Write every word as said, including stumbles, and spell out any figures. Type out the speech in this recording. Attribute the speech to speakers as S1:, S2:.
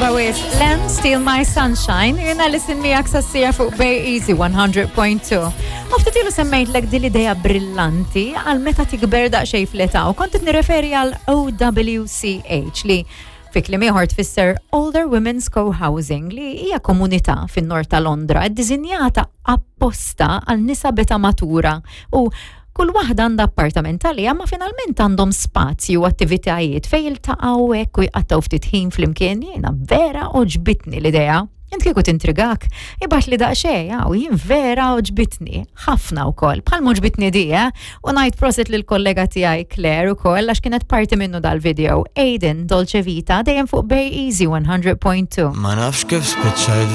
S1: Tajba wisq, Len Steal My Sunshine, jiena listen miegħek sassija fuq Bay Easy one hundred point two. U ftit ilu semmejtlek din l-idea brillanti għal meta tikber daqsxejn fl-età u kont qed nirreferi għal O W C H li fi kliem ieħor tfisser Older Women's Co-Housing, li hija komunità fin-nord ta' Londra ddisinjata apposta għal nisa b'età matura u kull waħda għandha appartament għaliha, ma finalment għandhom spazju u attivitajiet fejn jiltaqgħu hekk u jqattgħu ftit ħin flimkien. Jiena vera għoġbitni l-idea. Int kieku tintrigak, ibgħatli daqsxejn, għaw, jien vera għoġbitni, ħafna wkoll, bħal għoġbitni di, eh? U ngħid prosit lill-kollega tiegħi Claire ukoll, għax kienet parti minnu dal-video. Aiden, Dolce Vita, dejjem fuq Bay Easy one hundred point two.
S2: Ma nafx kif spiċċajt.